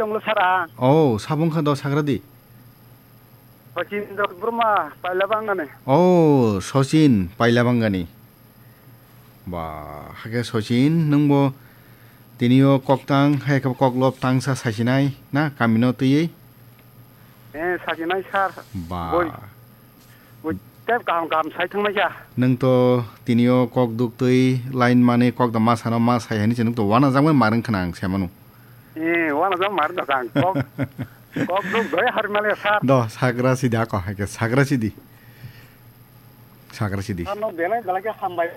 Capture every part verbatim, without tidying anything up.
Tonglo sara. Oh, sabung kha do sagra di. Sachin Debbarma, Pailabangani. Oh, Sachin, Pailabangani. Ba, hake Sachin, nwngbo tinio kok tang, hai khe kok lop tang sa sasinai, na, kamino twiwi? Eh, sasinai sir. Ba. Boi. Boi, tep kaham kaham sai thangmai kha. Nwng to tinio kok duk twi line mani kok da ma sano ma sai hani se nwng to wana jangmani marwng khna ang se manu. Eh, wana jang mar da kang. Kok, kok duk doi har male sir. Do, sagra sidi ako, hake sagra sidi. Sagra sidi. Sano belai belai khe hambai.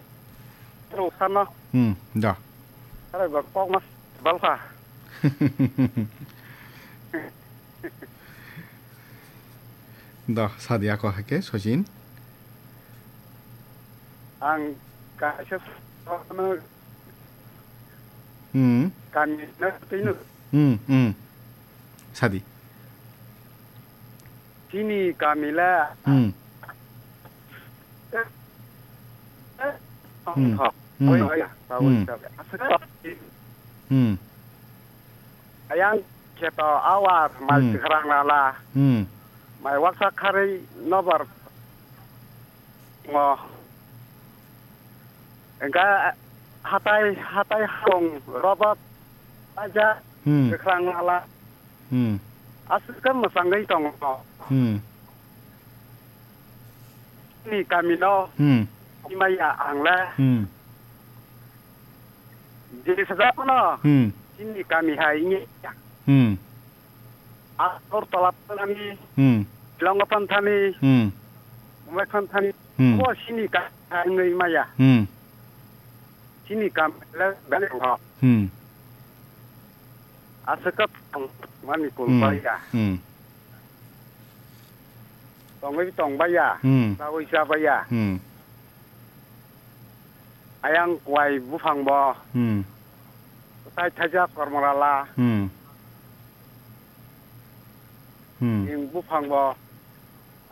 Ro sano. Hmm, do. Are ba kok mas balkha. Do, sadi ako hake, Sachin. Ang kaisa Hmm. Kami no twi no. Hmm, hmm. Sadi. Chini kami la. Hmm. Hmm. Hok. Hmm. Oi, oi, oi. Hmm. Ayang kheto awar mai Hmm. Sikharang lala. Hmm. Mai waksa kharwi nobar. Ngo. Engka hatai, hatai hong robot aja Hmm. Sikharang lala. Hmm. Aswk khe mwchangwi tongo. Hmm. Ni kami no Hmm. Imaya ang le. Hmm. Jini sajak no. Hmm. Chini kami hai ini. Hmm. Agartala thani. Hmm. Longo thani. Hmm. Mumbai thani. Hmm. Ko chini kami hai Imaya. Hmm. Chini kami le bani ho. Hmm. Aswk khe tong mani Hmm. Kulbaya. Hmm. Tongwi tongbaya. Hmm. Chawi chabaya. Hmm. Ayang kwai buphang bo. Hmm. Tai thaijak kormorala. Hmm. Hmm. Ing buphang bo.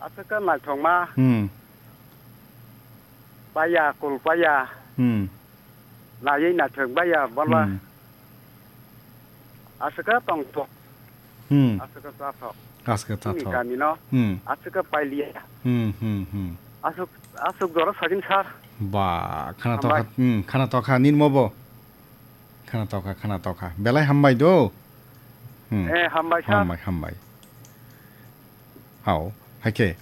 Aswk khe naithokma. Hmm. Baya, kulbaya. Hmm. Naiwi naithok baya, bola. Hmm. Aswk khe tongthok. Hmm. Aswk khe chathok. Aswk khe Chini chathok. Kami no. Hmm. Aswk khe pailiya. Hmm, hmm, hmm. Aswk, aswk jora sagin sir. Ba, khana tokha, Hambai. Hmm, khana tokha, nini mo bo. Khana tokha, khana tokha. Belai hambai do. Hmm. Eh, hambai sir. Hambai, hambai. Hao, haikhe,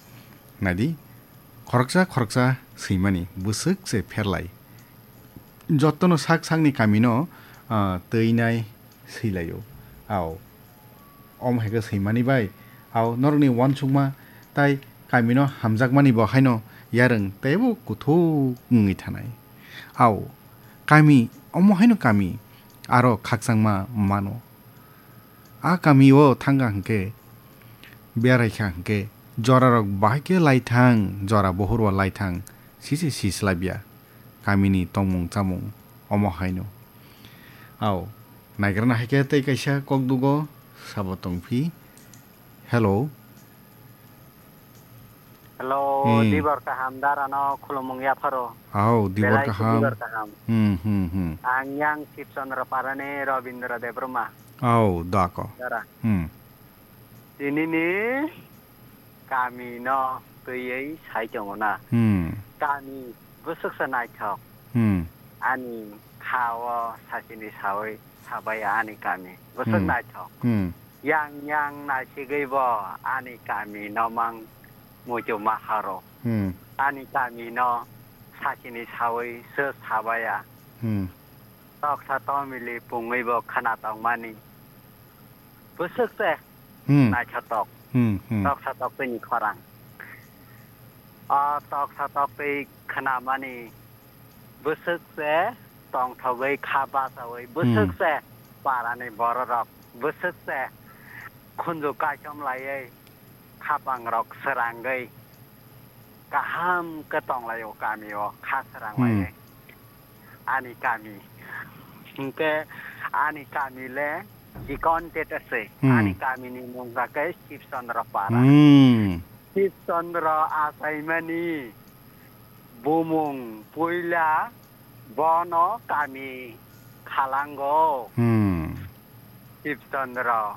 naidi, khoroksa khoroksa swimani bwswk se pherlai. Jotono sak sakni kamino, ah, twinai swilaio. Ao, omo haikhe swimani bai, ao norokni uansukma tai kamino hamjakmani bo haino yarwng teibo kuthuk wngwi thanai. Ao, kami, omo haino kami, aro khakchangma mano. A kami o thangkha hwnkhe, beraikha hwnkhe, jorarok bahai khe laithang, jora bohor o laithang, sisi sislabya, kamini tongmung chamung, omo haino. Ao, naigrana hai khe tei kaisa kokdugo, sabo tongphi. Hello. Hello, Hmm. Dibor kaham darano khulumung yapharo. Ao, Dibor Belai khe kaham. Dibor kaham. Hmm, hmm, hmm. Ang yang Sibchandra Parani Robindra Debbarma. Ao, dako. Dara. Hmm. Tinini kamino twiwi sai tongo na. Hmm. Kami bwswksa naithok. Hmm. Ani kha-o sachini sawi sabaya ani kami. Bwswk Hmm. naithok. Hmm. Yang yang naisigwi bo ani kami no mang muitu ma haro. Hmm. Ani kami no sachini sawi se sabaya. Hmm. Toksa tomili pungwi bo khana tongmani. Bwswk se Hmm. naithotok. Hmm, hmm. Toksa toktwini khorang. O toksa toktwi khnamani bwswk se tongthogwi kha bachaui, bwswk Hmm. se parani bororok, bwswk se khunju kaichom laiwi, khapangrok srangwi, kaham khe tonglaio kamio, kha srang Hmm. laiwi. Ani kami. Hwnkhe ani kami le chikon tete se. Hmm. Ani kamini mung kha khe Sibchandra Para. Hmm. Sibchandra achaimani bumung puila bono kami khalango. Hmm. Sibchandra